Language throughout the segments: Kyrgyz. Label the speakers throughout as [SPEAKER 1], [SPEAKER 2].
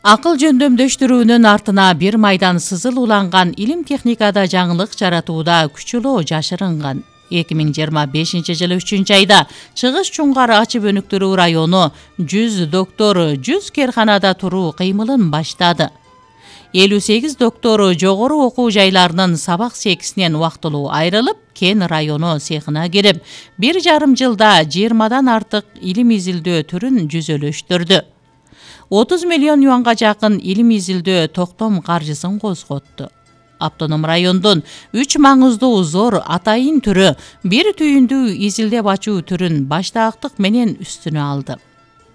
[SPEAKER 1] Акыл жөндөмдөштүрүүнүн артына бир майдан сызыл уланган илим техникада жаңылык жаратууда күчөлөө жашырынган. 2025-жылы 3-айда Чыгыш Чуңгар ачып өнүктүрүү району 100 доктор 100 керканада туруу кыймылын баштады. 58 доктор жогору окуу жайларынын сабак секисинен убактылуу айрылып, Кен району цехына кирип, 1,5 жылда 20дан артык илим изилдөө түрүн жүзөлөштүрдү. 30 миллион юанга жакын илим изилдөө токтом каржысын козготту. Автоном райондун 3 маңыздуу зор атайын түрү бир түйүндүү изилдеп ачуу түрүн баштаактык менен үстүнө алды.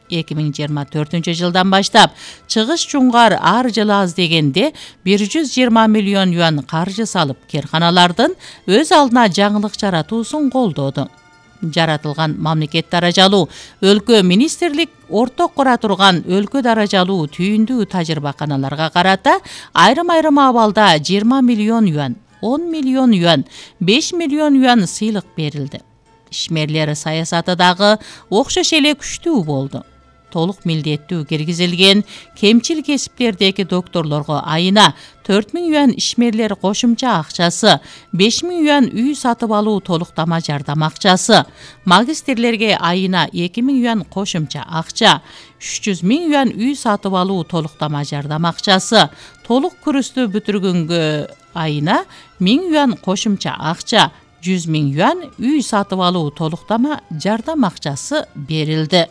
[SPEAKER 1] 2024-жылдан баштап Чыгыш Чуңгар ар жылы аз дегенде 120 миллион юан каржы салып, керканалардын өз алдына жаңылык жаратуусун колдоду. Жаратылган мамлекет даражалуу өлкө министрлик орток кура турган өлкө даражалуу түйүндүү тажрыйбаканаларга карата айрым абалда 20 миллион юан, 10 миллион юан, 5 миллион юан сыйлык берилди. Ишмерлер саясаты дагы окшош эле күчтүү болду. Толук милдеттүү киргизилген кемчил кесиптердеги докторлорго айына 4000 юан ишмерлер кошумча акчасы, 5000 юан үй сатып алуу толуктама жардам акчасы, магистрлерге айына 2000 юан кошумча акча, 300 000 юан үй сатып алуу толуктама жардам акчасы, толук курсту бүтүргөнгө айына 1000 юан кошумча акча, 100 000 юан үй сатып алуу толуктама жардам акчасы берилди.